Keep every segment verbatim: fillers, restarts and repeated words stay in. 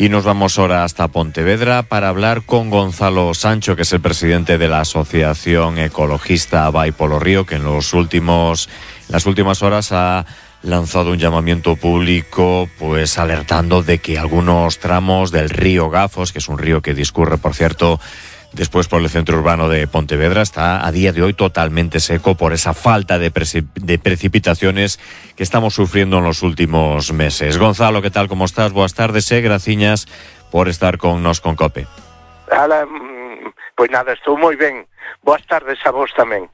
Y nos vamos ahora hasta Pontevedra para hablar con Gonzalo Sancho, que es el presidente de la Asociación Ecologista Vai polo Río, que en los últimos, las últimas horas ha lanzado un llamamiento público, pues alertando de que algunos tramos del río Gafos, que es un río que discurre, por cierto, después por el centro urbano de Pontevedra, está a día de hoy totalmente seco por esa falta de, preci- de precipitaciones que estamos sufriendo en los últimos meses. Gonzalo, ¿qué tal? ¿Cómo estás? Buenas tardes, eh? Graciñas por estar con nos con COPE. Ala, pois nada, estou moi ben. Boas tardes a vos tamén.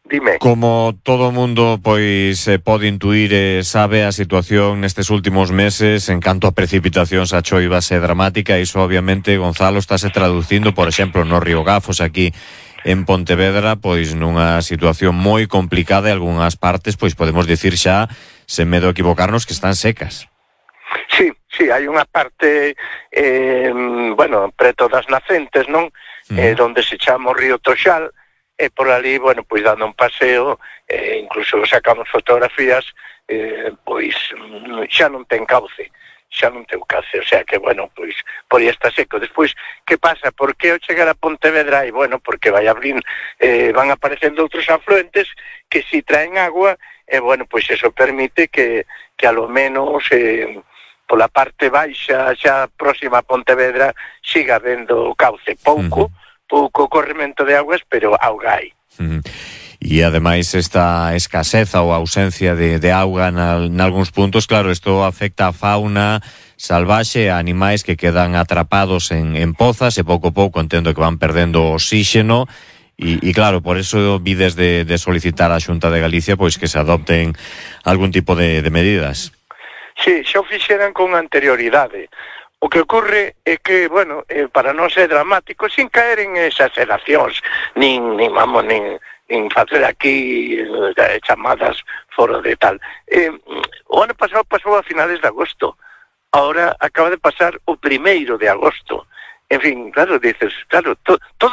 Dime. Como todo o mundo pois eh, pode intuir e eh, sabe, a situación nestes últimos meses en canto a precipitacións a choivas é dramática. Iso obviamente, Gonzalo, estáse traducindo, por exemplo, no río Gafos aquí en Pontevedra, pois nunha situación moi complicada e algunhas partes, pois podemos dicir xa, sen medo a equivocarnos, que están secas. Sí, sí, hai unha parte eh, bueno, preto das nacentes, non? Uh-huh. Eh, onde se chama o río Toxal. E por ali, bueno, pois dando un paseo, eh, incluso sacamos fotografías, eh, pois xa non ten cauce, xa non ten cauce, o sea que, bueno, pois por aí está seco. Despois, que pasa? Por que ao chegar a Pontevedra? E, bueno, porque vai abrir, eh, van aparecendo outros afluentes que si traen agua, e, eh, bueno, pois eso permite que, que a lo menos... Eh, pola parte baixa, xa próxima a Pontevedra, siga vendo cauce, pouco, uh-huh. pouco corremento de aguas, pero auga hai. Uh-huh. E ademais esta escaseza ou ausencia de, de auga en algúns puntos, claro, isto afecta a fauna salvaxe, a animais que quedan atrapados en, en pozas e pouco a pouco entendo que van perdendo oxígeno. E, e claro, por eso vides de, de solicitar á Xunta de Galicia pois que se adopten algún tipo de, de medidas. Sí, xa o fixeran con anterioridade. O que ocorre é que, bueno, eh, para non ser dramático, sin caer en exageracións, nin, nin vamos, nin, nin facer aquí eh, chamadas fora de tal. Eh, o ano pasado pasou a finales de agosto, ahora acaba de pasar o primeiro de agosto. En fin, claro, dices, claro, to, todo